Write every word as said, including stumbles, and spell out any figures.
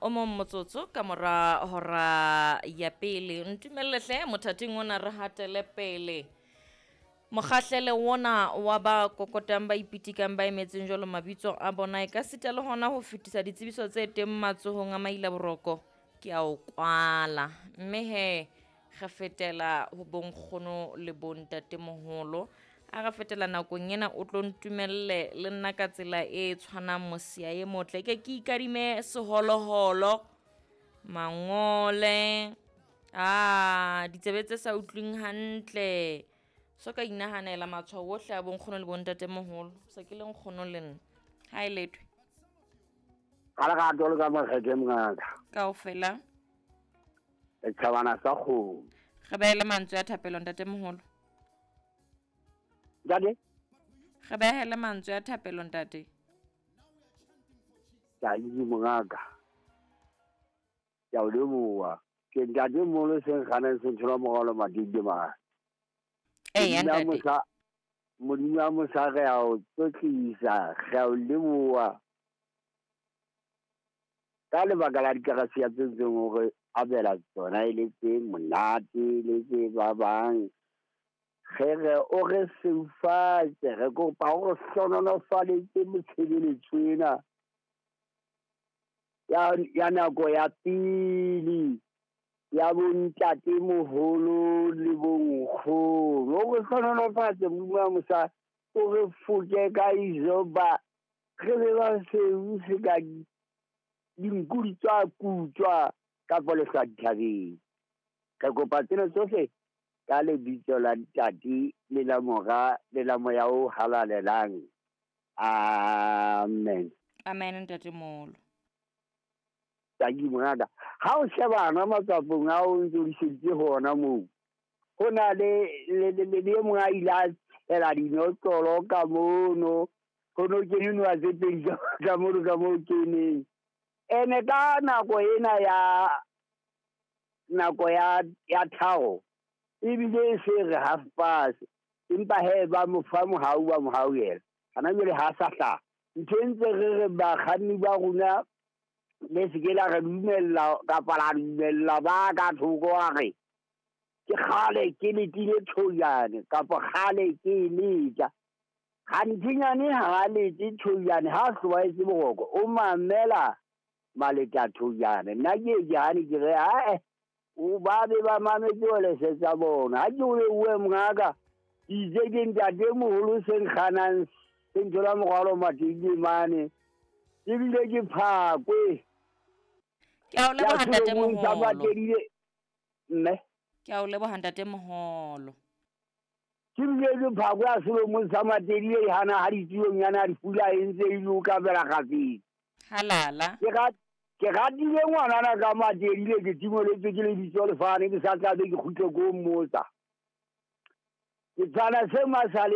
o mong motsotso ka mora hora ya pele. Ntumelle hle mothating ona re hatele pele. Mokgahlele wona wa ba kokotang ba ipitikang ba emetseng jwalo mabitso a bona e ka sita le hona ho fetisa ditsebiso tse teng matsohong a maila boroko ke a o kwala. Mme he re fetela ho bonkgono le bontatemoholo. A re fetela nakong ena o tlo ntumelle le nna ka tsela e tshwanang mosia e motle. Ke ke ikadime seholoholo, mangole, ah ditsebe tse sa utlwing hantle. So ka inahanela matshwao ohle a bonkgono le bontatemoholo. Se ke le nkgono le nna. Ha e lethwe. Ka lerato le ka makgethe mongaka. Kaofela. Setjhabana sa kgomo. Re behele mantswe a thapelo ntatemoholo. Ntate? Re behele mantswe a thapelo ntate. Ke a itse mongaka. Ke a o leboha. Ke ntatemoholo se nkganang se nthola morwalo matete mane. Eya ntate. Modimo a mosa re a o tlotlisa, re a o leboha. Ka lebaka la dikarasiya tse ntseng o re abela tsona e le tse monate le tse babang. Re re o re seufatse, re kopa o re hlohonolofaletse motshebeletso ena ya, ya nako ya pele ya bontatemoholo le bonkgono. O re hlohonolofatse Modimo wa mosa, o re foke ka izoba, re be ba seu se ka dinku di tswa kutswa kapa lehlwa dithabeng. Re kopa tsena tsohle ka lebitso la Ntate le la Mora le la Moya o Halalelang. Amen. Amen ntatemoholo. Tanki mongaka. Ha o shebana matsapong a o ntse o diseditse hona moo, ho na le le le le e mong a ile a tshela dinotlolo ka mono, ho no kene noha tse pedi ka mono ka moo keneng. Ene ka nako ena ya nako ya ya tharo ebile e se re half past, empa he ba mo fa mohau ba mohauhela. Hana jwale ha sa hlaha. Ntho e ntse re re bakganni ba rona le se ke la re dumella kapa la dumella ba ka thoko a re ke kgale ke letile thoyane kapa kgale ke e letla. Ganthinyane ha a lete thoyane, ha a hlobaetse boroko o mamela maleta thoyane. Nna ke ke hane ke re ae o ba be ba mametse welese tsa bona. Ha ke o lebohe mongaka, ke itse ke ntatemoholo se nkganang se nthola morwalo matete mane, ebile ke phakwe. Ke a o leboha ntatemoholo. Mme? Ke a o leboha ntatemoholo. Ke bile ke phakwe ya selomong sa Matedile e hana ha ditulong yana dipula e ntse e loka fela kgafetsa. Halala. Ke rat-, ke ratile ngwanana ka Matedile, ke timoletswe ke lebitso lefane, ke sa tlabe ke kgutle ko mmotsa. Ke tshwana se masale